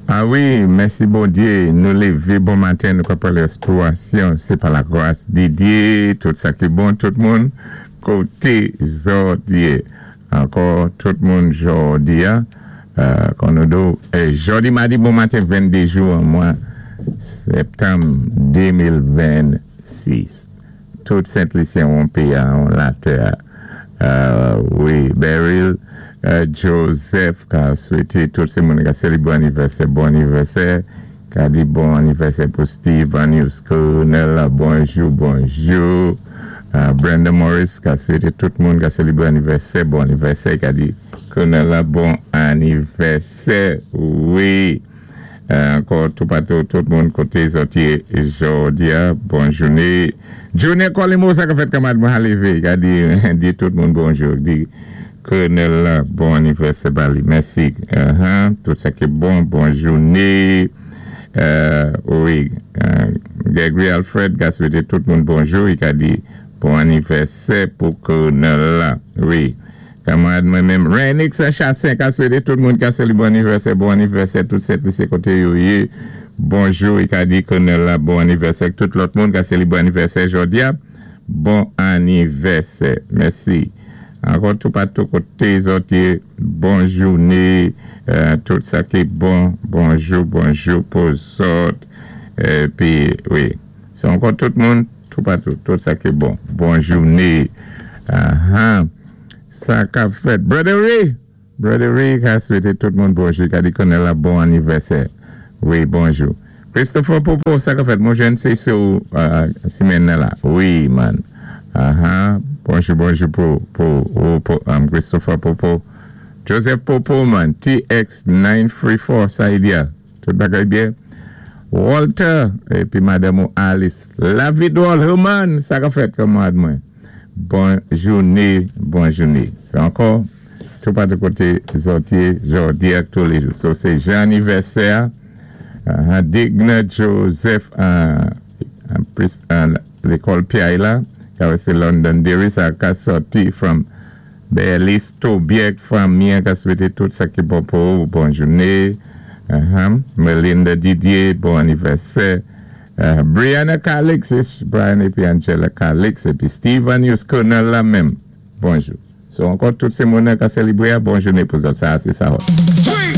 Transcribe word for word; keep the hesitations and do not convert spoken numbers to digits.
Ah wi, mèsi Bondyé, nou lévé bon maten, nou ka pran lespirasyon, sé pa la gras di Dyé, tout sa ki bon, tout moun, koté zòt yé. Ankò, tout moun jòdi a, euh, kon nou do, eh, jòdi madi bon maten venndé jou an mwa septanm de mil vennsis. Tout Sent Lisyen an péyi a, an latè. Euh, wi, Beryl, euh, Joseph ka swété tout sé moun ka sélibré anivèsè, bon anivèsè, ka di bon anivèsè pou Steve Anius Colonel, bonjou, bonjou. Euh, Brenda Morris ka swété tout moun ka sélibré anivèsè, bon anivèsè, ka di Colonel la bon anivèsè, wi. Euh, ankò toupatou, tout moun koté zòt yé jòdi a, bon jouné. Junior Colimo, sa ka fèt kanmarad mwen lévé, ka di, di tout moun bonjou, di Colonel la, bon anivèsè ba li, mèsi. Uh-huh. Tout sa ki bon, bon jouné. Euh, wi, euh, Gregory Alfred ka swété tout moun bonjou, i ka di bon anivèsè pou Colonel la, wi. Kanmarad mwen menm, Renix Chassin ka swété tout moun ka sali bon anivèsè, bon anivèsè, tout Sent Lisi koté yo yé. Bonjou, i ka di Colonel la bon anivèsè, tout lòt moun ka sali bon anivèsè jòdi a. Bon anivèsè, mèsi. Ankò toupatou koté zòt yé, bon jouné, euh, tout sa ki bon, bonjou, bonjou pou zòt. Épi, wi, sé ankò tout moun, toupatou, tout sa ki bon, bon jouné. Uh-huh. Sa ka fèt. Brother Ray, Brother Ray ka swété tout moun bonjou, ka di Colonel la bon anivèsè. Wi, bonjou. Christopher Popo, sa ka fèt, mwen jwenn sé sou uh, simenn la. Wi, man. Uh-huh. Bonjou, bonjou pou, pou, pou, pou um, Christopher Popo. Joseph Popo, man. T X nine three four, sa y di a. Tout bagay byen. Walter, épi madanm Alice. La Vidol, Herman, sa ka fèt kanmarad mwen. Bon jouné, bon jouné. Sé ankò, toupatou koté zòt yé, jòdi ak tous les jours. So, sé jan anivèsè, uh, Digna Joseph, uh, uh, lékòl P I la, ka sé Londonderry, sa ka sòti from Berlis Tobiek, fanmi ka swété tout sa ki bon pou bon jouné. Uh-huh. Melinda Didier, bon anivèsè. Uh, Brianna Calix, Brian épi Angela Calix, épi Steve Anius Colonel la menm. Bonjou. So, ankò tout sé moun ka sélibré, bon jouné pou zòt. Sa, sé sa.